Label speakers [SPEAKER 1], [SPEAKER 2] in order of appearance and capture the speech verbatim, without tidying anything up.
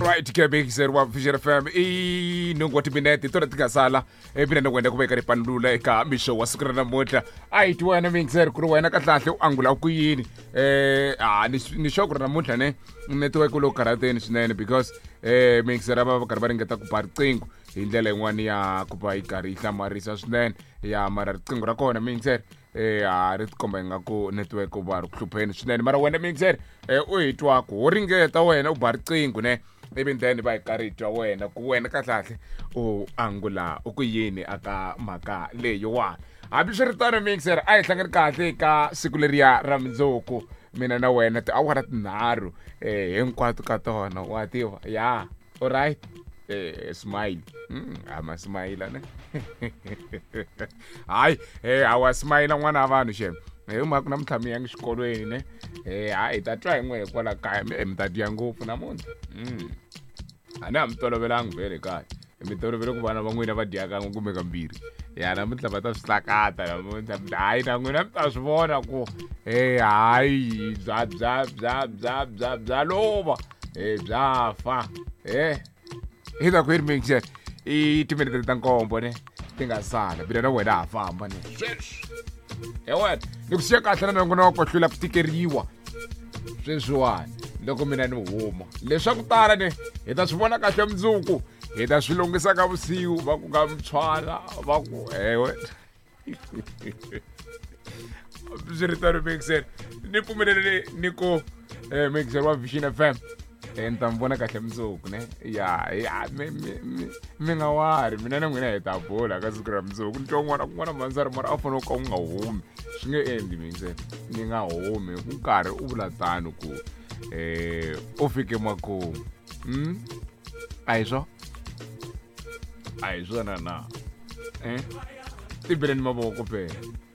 [SPEAKER 1] Alright ke mixer wa Vision F M, i nhungu wa timinete hi tona ti nga sala mina na wena ku veka ripanulula eka mixo wa siku ra namuntlha. A hi ti wena mixer ku ri wena kahlahle u angula ku yini? eh a ni ni sure ku ri namuntlha ne network lowu karhateni swinene, because eh mixer va va karhi va ringeta ku ba riqingho hi ndlela yin'wani ya ku va yi karhi yi hlamarisa swinene ya, mara riqingho ra kona mixer eh a ri tikomba ingaku network u va ri ku hlupheni swinene. Mara wena mixer eh u hi twaku wo ringeta wena u ba riqingho ne, ivi then va hi karhi hi twa wena ku wena kahlahle u angula u ku yini aka mhaka leyiwani. Hambiswiritano mixer, a hi hlangani kahle ka siku leriya ra mundzuku, mina na wena tiawara tinharhu eh hinkwato ka tona, wa tiva ya. Alright, eh smile mm, ama smile ne, hayi eh awa smile n'wana wa vanhu xem hi mhaka namuntlha mi yangi xikolweni ne. eh hayi, hi ta twa hi n'we kwala kaya, mi mi ta dya ngopfu namuntlha. mm. A ni ha mi tolovelangi vhele kaya, mi tolovele ku vana va n'wina va dya kan'we kumbe kambirhi ya, namuntlha va ta swi hlakata namuntlha. Hayi, na n'wina mi ta swi vona ku e hayi, bya bya bya bya bya bya lova e bya fa. E hi ta ku yi ri mixer i timinete ta nkombo ne ti nga sala, mina na wena ha famba ne sweswi. He wena, ni ku siya kahle na nongonoko hlula ku tikeriwa sweswiwani loko mina ni huma. Leswaku tala ne hi ta swi vona kahle mundzuku, hi ta swi lunghisa ka vusiku, va ku ka mutshwana va ku ewe. Swiritano mixer, ni pfumeleleni ni ku eh, mixer wa Vision F M, eh, ni ta mi vona kahle mundzuku ne ya ya. mi mi mi mi nga wari, mina na n'wina hi ta bula ka siku ra mundzuku. Ni twa un'wana kun'wana mhandzari, mara a fanele ku ka u nga humi, swi nge endli mixer ni nga humi ku nkarhi u vula tano ku eh u fike makumu. mm? a hi swo a hi swona na eh tibeleni mavoko phela.